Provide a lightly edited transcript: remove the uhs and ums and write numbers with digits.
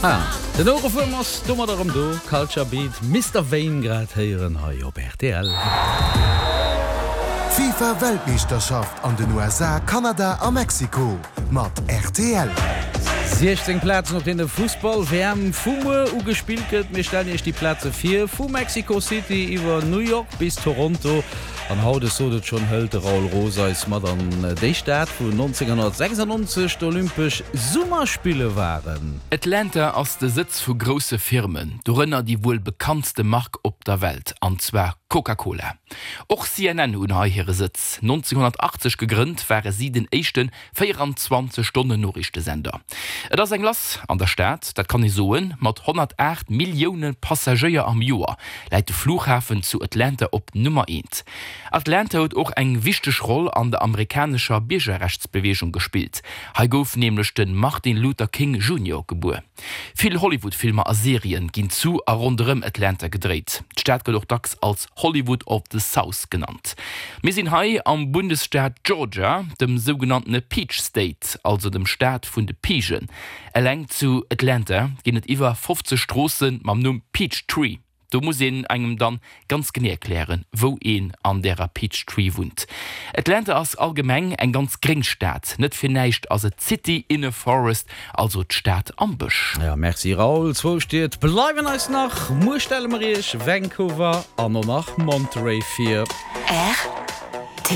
Ah, den Ouerefuerm ass domat erëm do. Culture Beat, Mister Vain grad héieren hei op rtl. D'FIFA Weltmeeschterschaft an den USA, Kanada a Mexiko mat rtl. 16 Plazen op deene Fussball-WM vu muer u gespillt gëtt. Mir stellen Iech déi Plaze vir, vu Mexico City iwwer New York bis Toronto. An haut, ech sot et schonn, hëlt de Raoul Roos eis mat an déi Stad, wou 1996 d'Olympesch Summerspille waren. Atlanta ass de Sëtz vu grousse Firmen, dorënner déi wuel bekanntste Mark op der Welt, an zwar Coca-Cola. Och CNN hunn hei hire Sëtz. 1980 gegrënnt, ware si den éischte 24 Stonnen Noriichtesender. Et ass eng lass an der Stad, dat kann ee soen. Mat 108 Millioune Passagéier am Joer läit de Flughafen zu Atlanta op Nummer eent. Atlanta huet och eng wichteg Roll an der amerikanescher Biergerrechtsbeweegung gespillt. Hei gouf nämlech de Martin Luther King Junior gebuer. Vill Hollywood-Filmer a Serien ginn zu a ronderëm Atlanta gedréit. D'Stad gëtt och dacks als Hollywood of the South genannt. Mir sinn hei am Bundesstaat Georgia, dem sougenanntene Peach State, also dem Staat vun de Piichen. Eleng zu Atlanta ginn et iwwer 50 Stroosse mam Numm Peachtree. Do muss een engem dann ganz genee erklären, wou een an därer Peachtree wunnt. Atlanta ass allgemeng eng ganz gréng Stad, net fir näischt ass et d'City in a Forest, also d'Stad am Bësch. Jo, merci Raoul. Zwou Stied bleiwen eis nach. Muer stelle mer iech Vancouver an och nach Monterey vir. Rtl.